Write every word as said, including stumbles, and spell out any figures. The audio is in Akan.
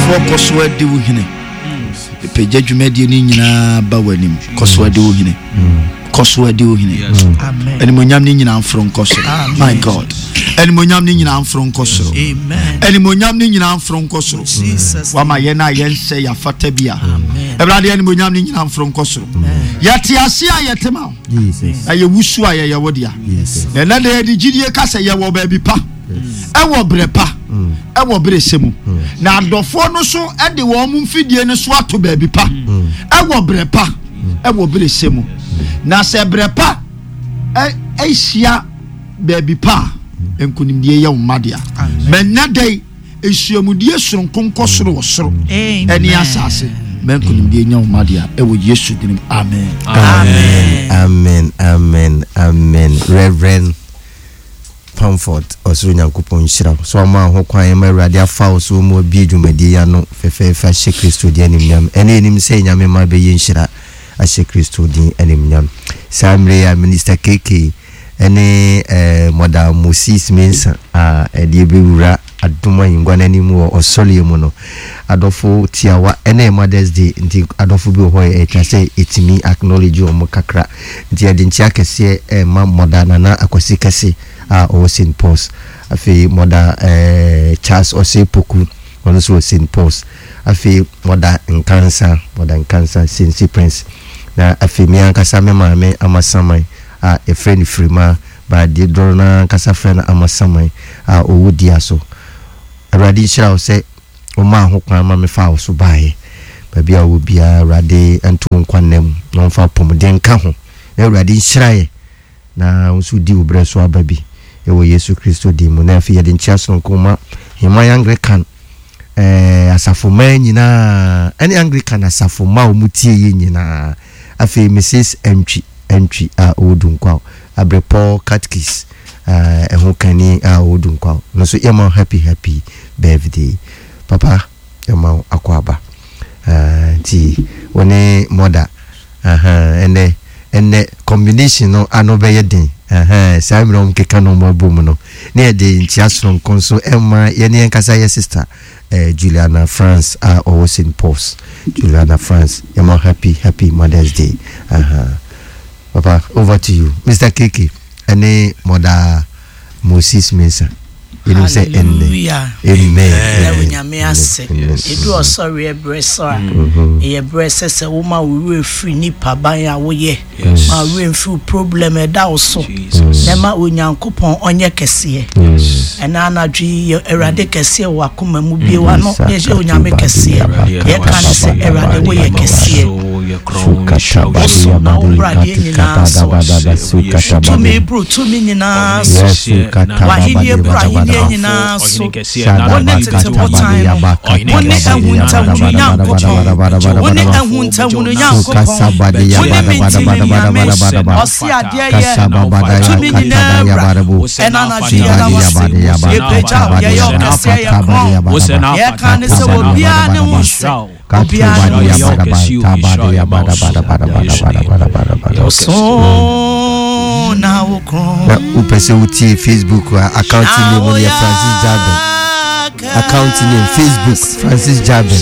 Ɔdɔfoɔ, kɔ so adi wo hene. Pagya dwumadie no nyinaa ba w'anim. Kɔ so adi wo hene, kɔ so adi wo hene. Animonyam no nyinaa mforo nkɔ soro. My God, animonyam no nyinaa mforo nkɔ soro. Animonyam no nyinaa mforo nkɔ soro. Wama yɛn a yɛnsɛ yɛafata bi a, Awurade, animonyam no nyinaa mforo nkɔ soro. Yɛte ase a, yɛte ma wo, na yɛwusu a, yɛyɛ wo dea. Ɛnɛ de, yɛde gyidie ka sɛ yɛwɔ baabi pa, ɛwɔ berɛ pa, ɛwɔ berɛ sɛ mu, na adɔfoɔ no so de wɔn mo mfidie no so ato baabi pa, ɛwɔ berɛ pa, ɛwɔ berɛ sɛ mu. Na sɛ berɛ pa ahyia baabi pa a, nkonimdie yɛ wo mma dea. Mɛnya dɛn nhyiamudie soronko nkɔ soro wɔ soro ɛne asase. Mɛ nkonimdie nya wo mma dea ɛwɔ Yesu din mu, amen. Amen, amen, amen, amen. Reverend Comfort, ɔsoro Nyankopɔn nhyira wo so ama ho kwan ma Awurade afa wo so mu abie dwumadie yi ano fɛfɛɛfɛ ahyɛ Kristo din animnyam. Ɛne ɛnim sɛ Nyame ma bɛyɛ nhyira ahyɛ Kristo din animnyam. Saa mmerɛ yi a Minister K K ɛne eh, Mɔda Moses Mensa a ɛde ɛbɛwura adom ahengua no anim wɔ ɔsɔreɛ mu no, adɔfo tiawa, ɛne Mothers Day nti adɔfo bi wɔ hɔ yɛ ɛtwa sɛ ɛtumi acknowledge wɔn kakra, nti yɛde nkyea kɛseɛ ɛma Mɔda Nana Akwasi Kɛse a ɔwɔ Saint Paul's, afei Mɔda ɛɛ Charles Ɔsɛ Poku, ɔno nso wɔ Saint Paul's, afei Mɔda Nkansa, Mɔda Nkansa Sensi Prince, na afei me ankasa me maame Amasaman a yɛfrɛ no Firima baadeɛ dɔrɔ no ankasa frɛ no Amasaman a ɔwɔ dia so. Awurade nhyira wo sɛ ɔmaa ho kwan ma mefa wo so baeɛ. Baabi a wɔ biara, Awurade nto wo nkwa nna mu na ɔmfa apɔmuden nka ho, na Awurade nhyira yɛ na wo nso di wo berɛ so aba bi ɛwɔ Yesu Kristo din mu. Na afei yɛde nkyea sononko ma Heman Anglican ɛɛ asafommaa nyinaa ɛne Anglican asafomma a wɔn tie yɛ nyinaa, afei Missus Antwi Antwi a ɔwɔ Dunkwaw, Abrepɔ Catechist ɛho kani a ɔwɔ Dunkwaw no nso, yɛma happy happy birthday. Papa, yɛma wo akɔ aba. Nti wo ne mother ɛnɛ ɛnɛ combination no ano bɛyɛ den. Saa mmerɛ wɔn keka no wɔn abɔ mu no, ne yɛde nkyia soronko nso ɛma yɛne yɛn kasa yɛ sister eh, Juliana France a ɔwɔ Saint Paul's. Juliana France, yɛma happy happy Mother's Day. uh -huh. Papa, over to you, Mister K K ɛne Mother Moses Mensah. Yɛnim sɛ ɛnnɛ, amen. Na Onyame ase. Ɛdu ɔsɔre berɛ so a, ɛyɛ berɛ sɛ sɛ woma wo werɛ firi nipa ban a woyɛ, ma wo werɛ mfiri wo problem ɛda wo so, na ma Onyankopɔn ɔnyɛ kɛseɛ. Ɛna anadwo yi, yɛ Awurade kɛseɛ wɔ akoma mu. Bie w'ano na yɛhyɛ Onyame kɛseɛ. Yɛka ne sɛ, Awurade, woyɛ kɛseɛ. Woso na wobradeɛ nyinaa so. Tumi boro tumi nyinaa so. W'ahennie boro ahennie nyinaa so. Wo ne tete botan no, wo ne ahuntahunu Nyankopɔn, wo ne ahuntahunu Nyankopɔn, wo ne mentimi Nyame, ɔse adeɛ yɛ tumi nyinaa wura. Ɛna anadwo yɛda wase, yɛpagya wo, yɛyɛ ɔkɛseɛ, yɛ korɔn. Yɛka ne sɛ obiara ne wo nsɛ, obiara ne wo nsɛ. So na wo korɔn. Na wopɛ sɛ wotie Facebook a, account name no yɛ Francis Jaben. Account name Facebook, Francis Jaben.